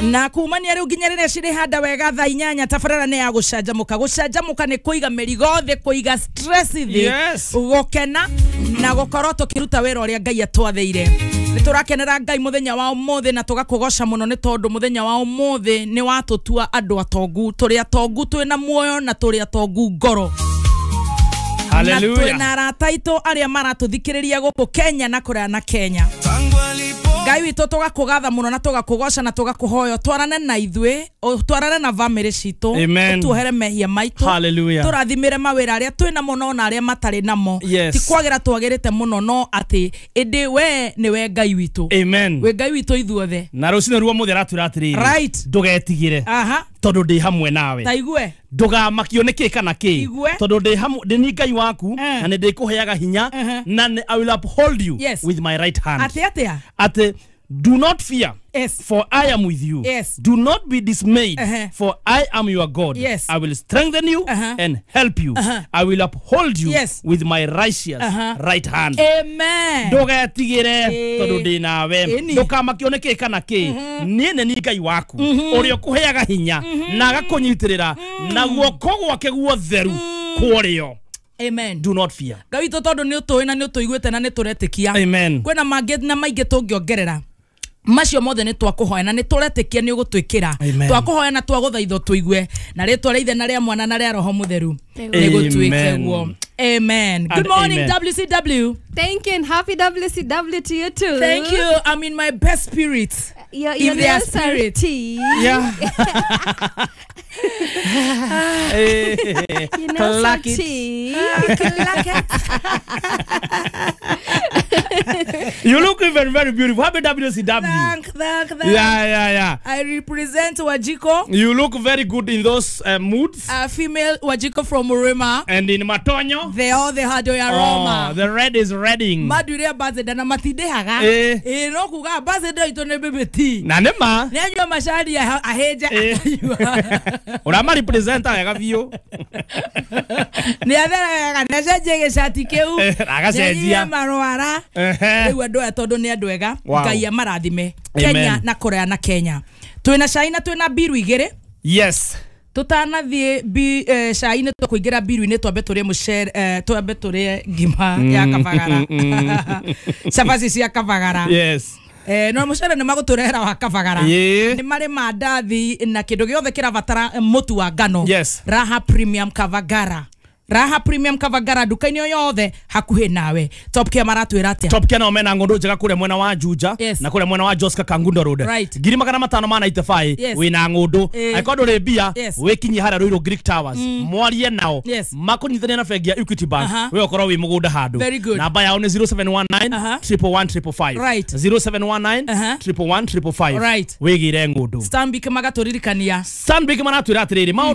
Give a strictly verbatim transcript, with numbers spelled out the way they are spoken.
Na kumania riu nginya riria cirihanda wega thaa inyanya tabarĩra nĩ ya gũcanjamũka. Gũcanjamũka nĩ kũiga mĩrigo thĩ, kũiga stress thĩ, Yes. gũkena na gũkorwo tũkĩruta wĩra ũrĩa Ngai atwathĩire. Nĩ tũrakenera Ngai mũthenya wa ũmũthĩ na tũgakũgoca mũno nĩ tondũ mũthenya wa ũmũthĩ nĩ watũtua andũ atongu. Tũrĩ atongu twĩna muoyo na tũrĩ atongu ngoro. Na Hallelujah. twĩna arata aitũ arĩa maratũthikĩrĩria gũkũ Kenya na kũraya na Kenya. Ngai witũ tũgakũgatha mũno na tũgakũgoca na tũgakũhoya twarane na ithuĩ, twarane na bamĩrĩ citũ, Amen. ũtuohere mehia maitũ, Hallelujah. tũrathimĩre mawĩra arĩa twĩ namo no na arĩa matarĩ namo. Yes. Ti kwagĩra twagĩrĩte mũno no atĩ ĩndĩ we nĩwe Ngai witũ. Amen. Wĩ Ngai witũ ithuothe. Na rũcinĩ ruo mũthĩ aratwĩra atĩrĩrĩ, Right. ndũgetigĩre Aha. tondũ ndĩ hamwe nawe. Ta igue. Ndũgamakio nĩ kĩ kana kĩ Igue. tondũ ndĩ hamwe, ndĩ ni Ngai waku Eh. na nĩ ndĩkũheaga hinya Uh-huh. na nĩ- I will uphold you Yes. with my right hand. Atĩ atĩa? Atĩ do not fear, Yes. for I am with you. Yes. Do not be dismayed, Uh-huh. for I am your God. Yes. I will strengthen you Uh-huh. and help you. Uh-huh. I will uphold you Yes. with my righteous Uh-huh. right hand. Amen. Ndũgetigĩre Ĩĩ. tondũ ndĩ nawe. Ĩni. Ndũkamakio nĩ kĩ kana kĩ. Niĩ nĩ niĩ Ngai waku ũrĩa ũkũheaga hinya na agakũnyitĩrĩra na guoko gwake guotheru kworĩo. Amen. Do not fear. Ngai witũ, tondũ nĩ ũtũĩ na nĩ ũtũiguĩte na nĩ tũretĩkia, Amen. kwĩna mangĩ na maingĩ tũngĩongerera, macio mothe nĩ twakũhoya na nĩ tũretĩkia nĩ ũgũtwĩkĩra. Amen. Twakũhoya na twagũthaitha ũtũigue na rĩtwa rĩa Ithe na rĩa Mwana na rĩa Roho Mũtheru, nĩ gũtuĩke Amen. guo. Amen. Good And morning. amen. W C W. Thank you and happy W C W to you too. Thank you. I'm in my best spirit. Your, If your they are nails are spirit. tea. Yeah. Eh, Your nails are Clack it. tea. Clack it. You look even very beautiful. Happy W C W. Thank, thank, thank. Yeah, yeah, yeah. I represent Wajiko. You look very good in those uh, moods. A female Wajiko from Murima. And in Matonyo. They all the hado ya Roma. Oh, the red is redding. Maduire ambassador na matindehaga. Eh. Ĩ, no kuga ambassador itũ nĩ B B T. Na nĩ ma. Nĩ anyua macani ahĩnje Eh. akanyua. Ũrama representa wega biũ. Nĩ atherega nĩ acenjie gĩcati kĩu. Eh, agacenjia. Nĩ anyue marwara. Ehe. Rĩu andũ aya tondũ nĩ andũ ega, Wow. Ngai amarathime. Amen. Kenya na Korea na Kenya twĩna cai na twĩna mbiru igĩrĩ. Yes. Tutanathiĩ bi eh, cai-inĩ, tũkũingĩra mbiru-inĩ, twambe tũrĩe mũcere, eh, twambe tũrĩe ngima ya kabagara, cabaci cia kabagara. Yes. Eh, no mũcere nĩ magũtũrehera wa kabagara. Ĩĩ. Nĩ marĩ mandathi na kĩndũ gĩothe kĩrabatara eh, mũtu wa ngano. Yes. Raha Premium Kavagara, Raha Premium Kavagara, nduka-inĩ o yothe hakuhĩ nawe. Top Care maratwĩra atĩa? Top Care nao mena ng'ũndũ njega kũrĩa mwena wa Juja Yes. na kũrĩa mwena wa Joska Kangundo Road. Right. Ngiri magana matano ma ninety-five Yes. wĩna ng'ũndũ. Eh. Angĩkorwo ndũrĩ mbia, Yes. wĩkinyie harĩa Ruiru Greek Towers, mwarie nao, Yes. makũnyitithanie na bengi ya Equity Bank. Aha. We ũkorwo wĩ mũgũnda handũ. Very good. Namba yao nĩ zero seven one nine Aha. triple one triple five. Right. zero seven one nine Aha. triple one triple five. Right. Wĩgĩre ng'ũndũ. Stanbic magatũririkania. Stanbic maratwĩra atĩrĩrĩ maũndũ